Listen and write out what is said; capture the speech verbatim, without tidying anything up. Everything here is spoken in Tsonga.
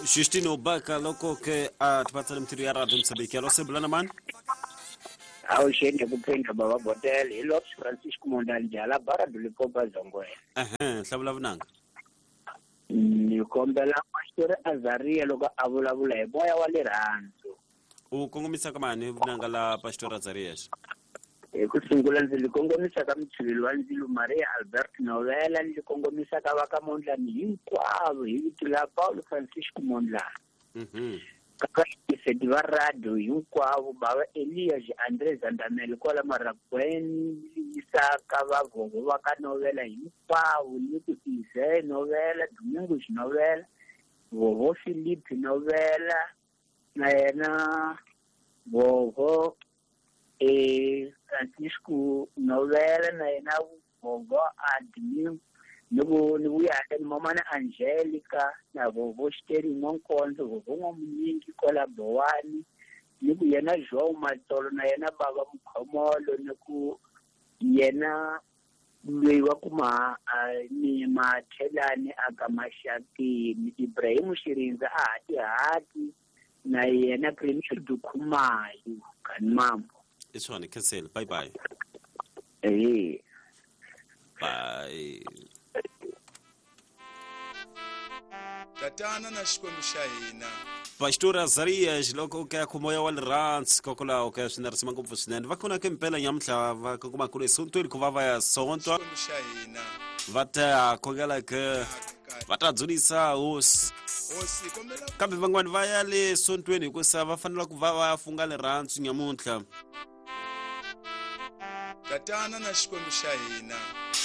Justino Baka loko ke a tipatsana mithiri ya radio Msabiki. Alo sebulana mani? Awuxeni ku phendla baba Botel hi Lopes Francisco Mondandjala bara Dulipopa Zongwena. Ehe, hlavula vunanga. Ni kombela Pastor Azaria loko a vulavula hi moya wa rirhandzu. U kongomisa ka mani vunanga la Pastor Azarias? Hi ku sungula ndzi li kongomisa ka mutshiveli wa ndzilo Maria Albert Novela, ni li kongomisa ka va ka Mondlani hinkwavo hi vito la Paulo Francisco Mondlani. Mhm. Ka va va radio hinkwavo bava Elias Andre Zandamele kwala Maragweni, yisa ka va vovo va ka Novela hinkwavo, ni ku Ize Novela, Domingos Novela, vovo Philip Novela, na yena vovo eh Francisco Novela, na yena vovo Admin, ni ku ni vuya ni mamana Angelica na vovo Xiteri N'wankonzo, vovo N'wamunyingi kwala Bowani, ni ku yena João Matsolo na yena baba Mukhomolo, ni ku yena loyi wa ku ma ni Mathelani aka Maxakeni, Ibrahim Xirindza a hati hati na yena Premier Dukhumayo Kanimambo. I swona, cancel. Bye bye. Eh. Bye. Tatana na Xikwembu xa hina. Pastor Azarias loko ke ku moya wa rirhandzu kokwalaho ka swi na ngopfu swinene. Va kona ke mpela nyamuntlha va kuma ku ri sontweni ku va va ya sontwa. Xikwembu xa hina. Va ta khongela ke va ta dzunisa hosi. Hosi kombela Kambe van'wani va ya le sontweni hikusa va fanele ku va va ya funga rirhandzu nyamuntlha. Tatana na Xikwembu xa hina.